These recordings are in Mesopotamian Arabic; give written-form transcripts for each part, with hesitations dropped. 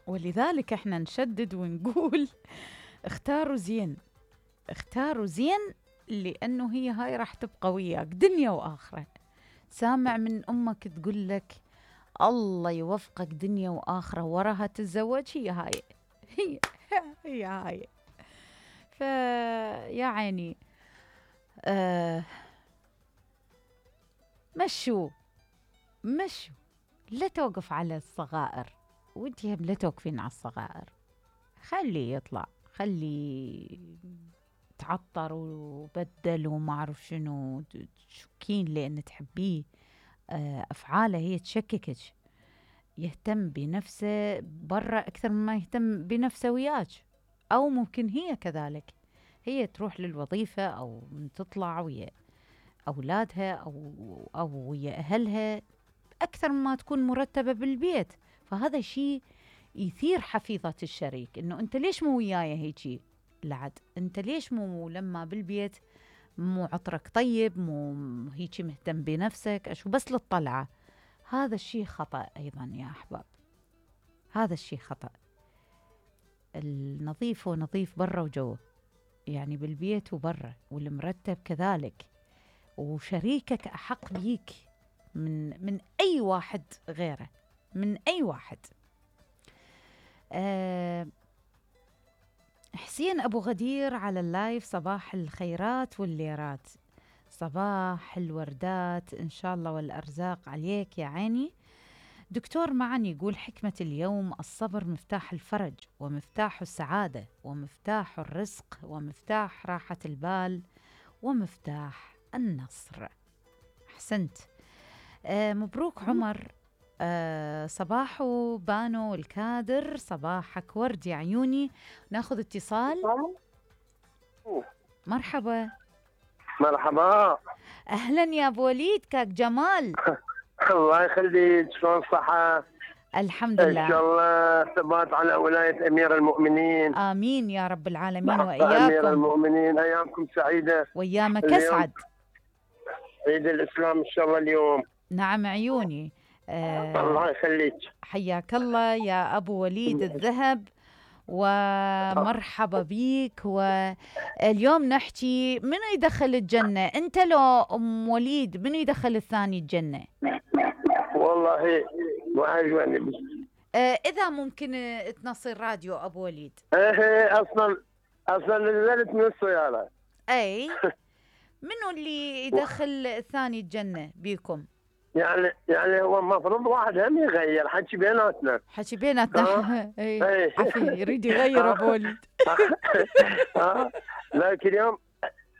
ولذلك احنا نشدد ونقول اختاروا زين، اختاروا زين، لأنه هي هاي راح تبقى وياك دنيا وآخرة. سامع من أمك تقول لك الله يوفقك دنيا وآخرة، وراها تتزوج، هي هاي، هي هي هاي. فيا عيني مشوا لا توقف على الصغائر، وانتي هم لا توقفين على الصغائر، خلي يطلع، خلي تعطر وبدل وما أعرف شنو، تشكين لأن تحبيه. أفعاله هي تشككك، يهتم بنفسه برا أكثر مما يهتم بنفسه وياك، أو ممكن هي كذلك، هي تروح للوظيفة أو تطلع ويا أولادها أو ويا أهلها أكثر مما تكون مرتبة بالبيت. فهذا شيء يثير حفيظة الشريك، إنه أنت ليش مو وياي هيجي لعد؟ أنت ليش مو لما بالبيت مو عطرك طيب، مو هيجي مهتم بنفسك، أشو بس للطلعة؟ هذا الشيء خطأ أيضا يا أحباب، هذا الشيء خطأ. النظيف هو نظيف برا وجوه، يعني بالبيت وبرا، والمرتب كذلك، وشريكك أحق بيك من أي واحد غيره، من أي واحد. حسين أبو غدير على اللايف، صباح الخيرات والليرات، صباح الوردات إن شاء الله والأرزاق عليك يا عيني. دكتور معن يقول حكمة اليوم: الصبر مفتاح الفرج، ومفتاح السعادة، ومفتاح الرزق، ومفتاح راحة البال، ومفتاح النصر. أحسنت. مبروك عمر. صباحو بانو الكادر، صباحك ورد يا عيوني. ناخذ اتصال. مرحبا. مرحبا. أهلا يا أبو وليد، كاك جمال. الله يخليك، شلون الصحة؟ الحمد لله. إن شاء الله ثبات على ولاية أمير المؤمنين. آمين يا رب العالمين وإياكم. أمير المؤمنين، أيامكم سعيدة. وأيامك أسعد. عيد الإسلام إن شاء الله اليوم. نعم عيوني. الله يخليك. حياك الله يا أبو وليد الذهب، ومرحبا بيك. واليوم نحكي منو يدخل الجنة، أنت لو أم وليد منو يدخل الثاني الجنة؟ والله وعجبني. إذا ممكن تنصي الراديو أبو وليد. أصلا نزلت من السيارة. أي منو اللي يدخل الثاني الجنة بيكم؟ يعني هو المفروض واحد هم يغير، حكي بيناتنا. حكي بيناتنا. اي عفي يريد يغير ابو وليد. ذاك اليوم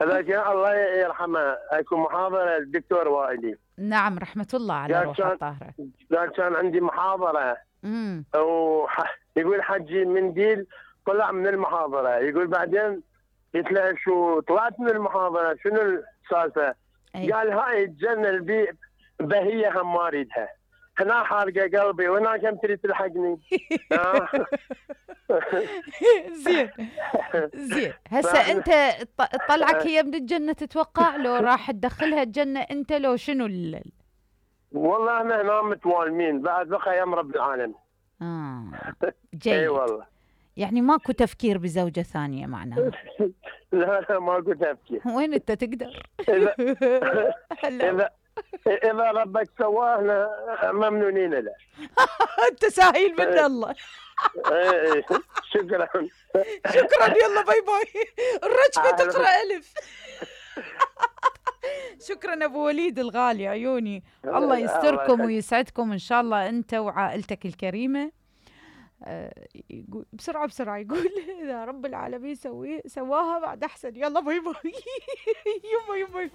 الله يرحمه اكو محاضره الدكتور وائلي. نعم رحمه الله على روحه الطاهره. ذاك كان عندي محاضره. يقول حجي منديل طلع من المحاضره، يقول بعدين قلت له شو طلعت من المحاضره شنو السالفه؟ قال هاي الجنه بهية هم ما اريدها، هنا حارقه قلبي وهناك هم تريد تلحقني. زين هسه انت طلعك هي من الجنه تتوقع لو راح تدخلها الجنه انت لو شنو والله احنا هنا متوالمين بعد بقى يم رب العالمين. جيد. اي والله. يعني ماكو تفكير بزوجه ثانيه معناها؟ لا ماكو تفكير. وين انت تقدر؟ إذا ربك سواهنا ممنونين له. أنت ساهل من الله. شكرا. يلا باي باي. الرجفة تقرأ ألف. شكرا أبو وليد الغالي عيوني، الله يستركم ويسعدكم إن شاء الله أنت وعائلتك الكريمة. بسرعة يقول إذا رب العالمين سواها بعد أحسن. يلا باي باي. يما